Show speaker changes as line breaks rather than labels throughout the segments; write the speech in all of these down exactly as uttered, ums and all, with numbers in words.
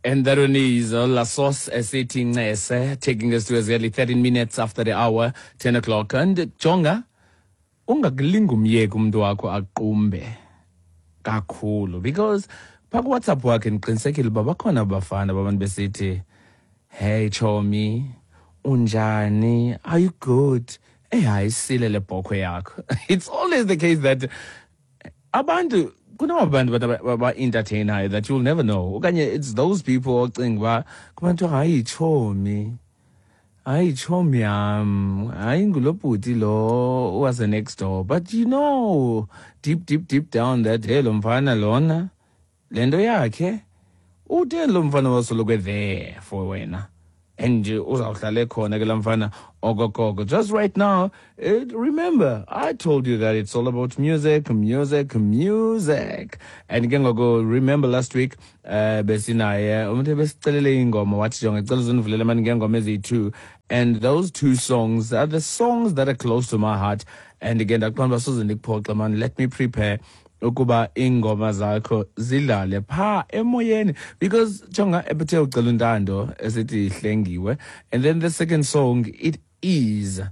And that one is uh, La Sauce esithi Ncese, taking us to exactly thirteen minutes after the hour, ten o'clock. And jonga, ungakulinga umyeki umntu wakho aqumbe kakhulu, because phaa kuWhatsApp wakhe ndiqinisekile uba bakhona abafana babantu besithi, "Hey chomi, unjani? Are you good? Hey, hayi, sile le bhokhwe yakho." It's always the case that abantu kunabantu ba-entertainayo that you'll never know, okanye it's those people ocinga uba kubantu, "Hayi chomi, hayi chomi yam, hayi ngulo bhuti lo wase next door," but you know deep, deep, deep down that, hey, lo mfana lona le nto yakhe uthe lo mfana wasoloko there for wena and uzawuhlala ekhona ke laa mfana okokoko. Just right now, it, remember I told you that it's all about music, music, music. And ke ngoku, remember last week uh, besinaye umuntu ebesicelele ingoma, wathi, "Jonga, cela uzondivulele mani ngeengoma eziyi-two," and those two songs are the songs that are close to my heart. And again, ndaqonda uba soze ndikuphoxe mani, let me prepare ukuba iingoma zakho zidlale phaa emoyeni, because jonga, ebethe ucela uNtando esithi Ihlengiwe, and then the second song, it is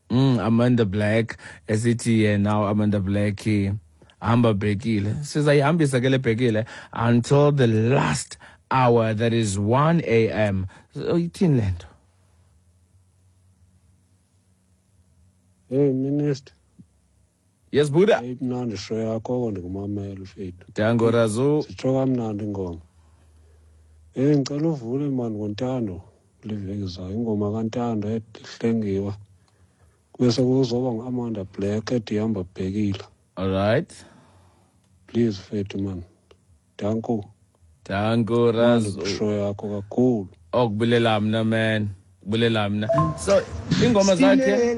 mm, Amanda Black esithi yena Amanda Black Hamba Bhekile. Sizayihambisa ke le bhekile until the last hour, that is one a m. So ithini le nto?
Hey Minister.
Yes, Buddha.
Imnandi show yakho, oko ndikumamela mfethu.
Dango Razu.
Zitsho kamnandi ingoma. Hey, ngicela uvule mani ngoNtando kule veki zayo, ingoma kaNtando ethi Ihlengiwe. Bese kuzoba ngu-Amanda Black ethi Ihamba Bhekile.
All right.
Please mfethu man. Danko.
Dango Razu.
Show yakho kakhulu.
Okubulela mna man, bulela mna. So ingoma zakhe